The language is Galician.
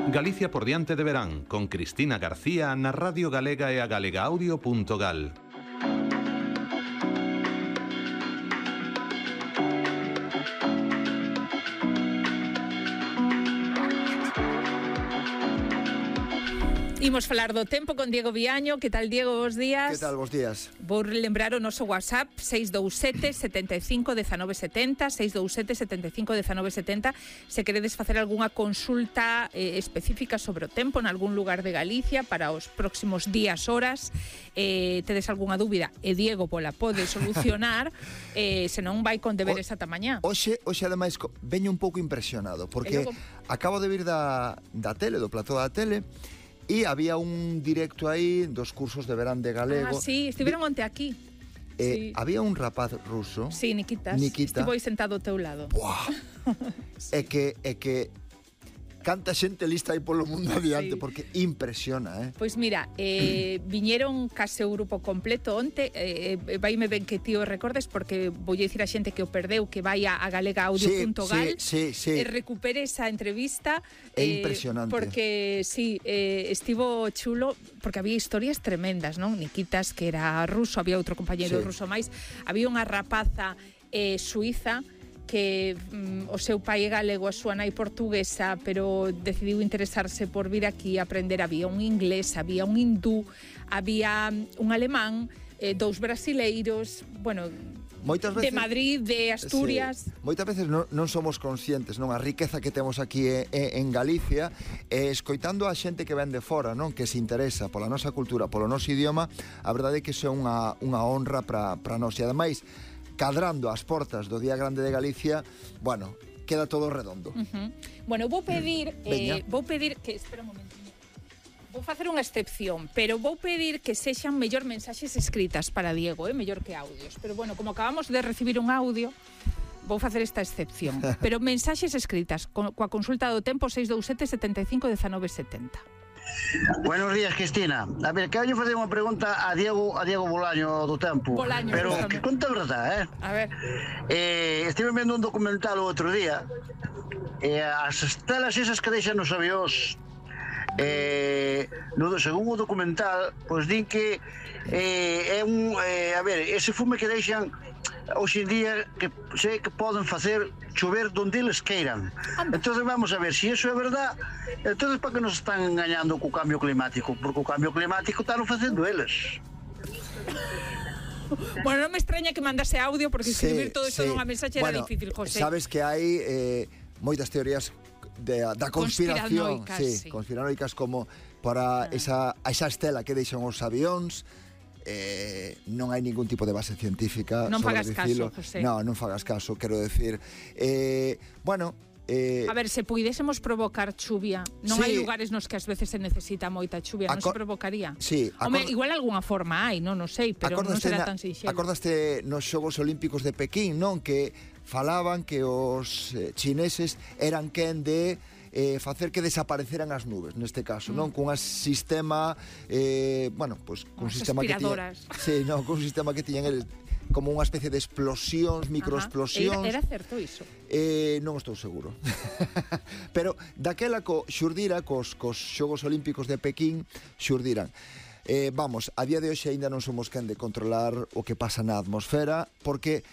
Galicia por diante de verán, con Cristina García na Radio Galega e a galegaaudio.gal. Imos falar do tempo con Diego Viaño. Que tal, Diego? Bos días. Que tal, bos días. Vou lembrar o noso WhatsApp 627 75 19 70 627 75 19 70 se queredes facer algunha consulta específica sobre o tempo en algún lugar de Galicia para os próximos días, horas, tedes algunha dúbida e Diego pola pode solucionar, senón vai con deberes ata mañá. Hoxe ademais veño un pouco impresionado porque acabo de vir da tele, do plató da tele. E había un directo aí dos cursos de verán de galego. Ah, sí, estiveron onte aquí. Sí. Había un rapaz ruso. Sí, Nikita. Estivo aí sentado ao teu lado. Buah. É que canta xente lista aí polo mundo adiante, sí. Porque impresiona, Pois mira, viñeron case o grupo completo onte, vaime ben que ti o recordes, porque voulle dicir a xente que o perdeu, que vai a galegaaudio.gal sí. E recupere esa entrevista. É impresionante. Porque, sí, estivo chulo, porque había historias tremendas, non? Nikitas, que era ruso, había outro compañeiro ruso máis, había unha rapaza suiza, que o seu pai é galego, a súa nai portuguesa, pero decidiu interesarse por vir aquí a aprender. Había un inglés, había un hindú, había un alemán, dous brasileiros, bueno, moitas veces, de Madrid, de Asturias. Sí. Moitas veces non somos conscientes, non, a riqueza que temos aquí en Galicia, escoitando a xente que ven de fora, non, que se interesa pola nosa cultura, polo noso idioma. A verdade é que iso é unha honra para nós. E ademais, cadrando as portas do Día Grande de Galicia, bueno, queda todo redondo. Bueno, vou pedir que, espera un momento, vou facer unha excepción, pero vou pedir que sexan mellor mensaxes escritas para Diego, mellor que audios. Pero bueno, como acabamos de recibir un audio, vou facer esta excepción. Pero mensaxes escritas, coa consulta do tempo 627 75 19 70. Buenos días, Cristina. A ver, que eu facer unha pregunta a Diego Bolaño do Tempo. Bolaño, pero que conta a verdade, A ver. Estive vendo un documental o outro día, as estelas esas que deixan nos avións, según o documental, pois din que é un... a ver, ese fume que deixan hoxe en día que sei que poden facer chover donde eles queiran. Entonces vamos a ver, se iso é verdad, entonces para que nos están engañando co cambio climático? Porque o cambio climático están facendo eles. Bueno, non me extraña que mandase audio, porque escribir todo isto nunha mensaxe era difícil, José. Sabes que hai moitas teorías da conspiración, conspiranoicas, como para esa estela que deixan os avións. Non hai ningún tipo de base científica. Non fagas caso, José. Non fagas caso, quero decir. Bueno, a ver, se puidésemos provocar chuvia, non hai lugares nos que ás veces se necesita moita chuvia, non se provocaría? Sí. Home, igual algunha forma hai, non sei, pero non será tan sinxelo. Acordaste nos Xogos Olímpicos de Pequín, non? Que falaban que os chineses eran quen de facer que desapareceran as nubes, neste caso, non? Cun sistema, bueno, pois cun sistema que tiñan, cun sistema que tiñan eles, como unha especie de explosións, microexplosións. Era certo iso? Non estou seguro. Pero daquela xurdira cos Xogos Olímpicos de Pequín xurdiran. Vamos, a día de hoxe aínda non somos quen de controlar o que pasa na atmosfera, porque